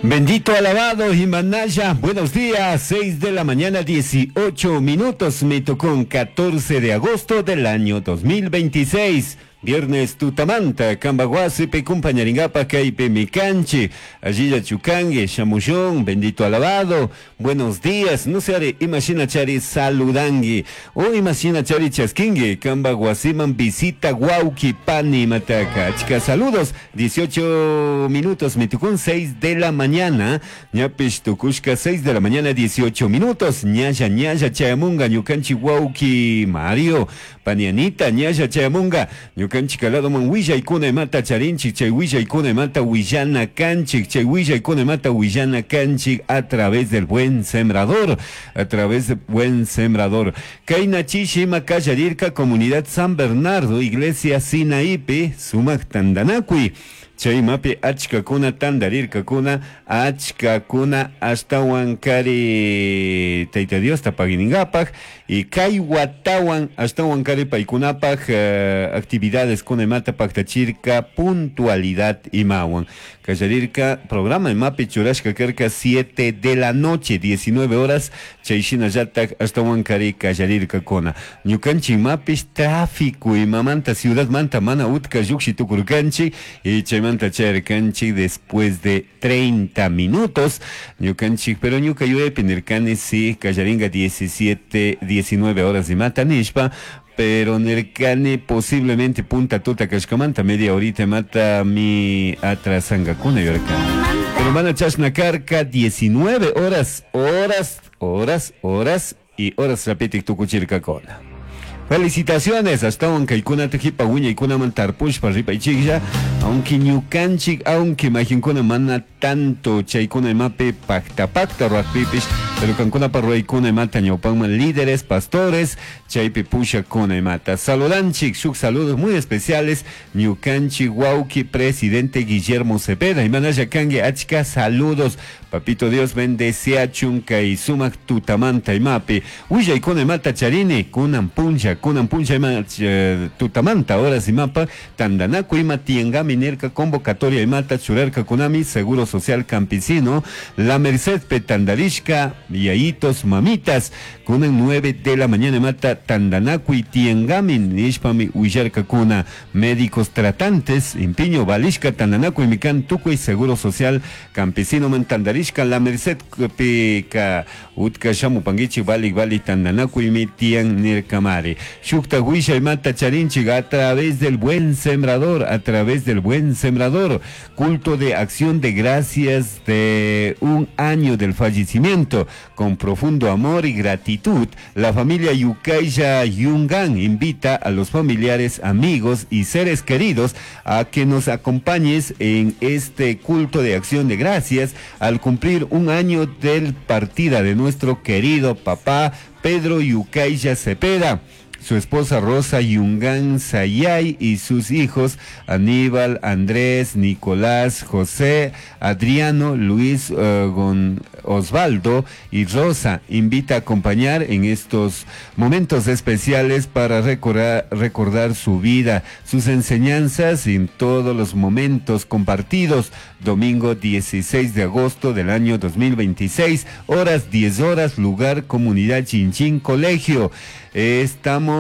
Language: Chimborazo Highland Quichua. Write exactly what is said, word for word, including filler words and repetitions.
Bendito, alabado Himanaya. Buenos días, seis de la mañana, dieciocho minutos. Me tocó un catorce de agosto del año dos mil veintiséis. Viernes tutamanta, Cambaguasipe, compañeringapa, kaypi mikanchi, allilla chukangue, shamushun, bendito, alabado, buenos días, no se haré, imagina chari saludangui, o imagina chari chasquingui, Cambaguasiman visita huauqui pani mataka. Chica, saludos, dieciocho minutos, mitukun seis de la mañana, ñapish tukushka seis de la mañana, dieciocho minutos, ñalla, ñalla, chayamunga, ñukanchi huauqui Mario, panianita, ñalla chayamunga, ñukanchik ladoman willaykuna imata charinchik, chay willaykuna imata willana kanchik, chay willaykuna imata willana kanchik a través del Buen Sembrador, a través del Buen Sembrador. Kayna chishi ima kallarirka comunidad San Bernardo, iglesia Sinaipi, sumak tandanakuy. Chaymapi achkakuna tandarirkakuna, achkakuna ashtawan kari Tayta Diosta paguiningapak y kay watawan ashtawan kari paykunapak eh, actividades kuna imata paktachirka puntualidad imawan. Kallarirka programa imapi churashka karka siete de la noche, diecinueve horas, chay shinallatak ashtawan kari kallarirkakuna. Ñukanchik imapish tráfico imamanta ciudad manta mana utka llukshi tukurkanchik y chaymanta chayarkanchik después de treinta minutos. Ñukanchik, pero ñuka yuyaypi nirkani si kallaringa diecisiete, diecinueve horas imata nishpa, pero nirkani posiblemente punta tuta kashkamanta media horita mata mi atrasangakuna yurkani. Pero mana chashna karka, diecinueve horas, horas, horas, horas y horas rapitik tukuchirkakuna. Felicitaciones, hasta kaykunata hipa wiñaykunaman tarpushpa ripaychiklla, aunque ñukanchik, aunque mayqinkuna mana tanto chaykuna imapi pakta pakta ruwaqpipish, pero kankunapa ruwaykuna imata ñawpanman líderes, pastores, chaypi pushakuna imata. Saludanchik, shuk saludos muy especiales, ñukanchik wawki presidente Guillermo Cepeda, imanalla kanki, achka saludos, papito Dios bendeciachun kay sumak tutamanta imapi. Willaykuna imata charini, kunan puncha, kunan puncha ima eh, tutamanta horas imapa, tandanaku ima tiangami nirka convocatoria imata churarka kunami Seguro Social Campesino, La Merced petandarishka, yayitos, mamitas, kunan nueve de la mañana imata tandanaku y tiangami nishpami willarka kuna médicos tratantes, impiño valishka tandanaku imikan tukuy Seguro Social Campesino man tandarishka La Merced pika utka shamupankichik valik valik tandanaku imi tian nirkamari. Shukta wisha imata charinchik a través del Buen Sembrador, a través del Buen Sembrador, culto de acción de gracias de un año del fallecimiento, con profundo amor y gratitud, la familia Yucaya Yungan invita a los familiares, amigos y seres queridos a que nos acompañes en este culto de acción de gracias al cumplir un año del partida de nuestro querido papá Pedro Yucaya Cepeda, su esposa Rosa Yungán Sayay y sus hijos Aníbal, Andrés, Nicolás, José, Adriano, Luis, uh, Gon Osvaldo y Rosa. Invita a acompañar en estos momentos especiales para recordar, recordar su vida, sus enseñanzas y en todos los momentos compartidos. Domingo dieciséis de agosto del año dos mil veintiséis, horas diez horas, lugar Comunidad Chinchín Colegio. Estamos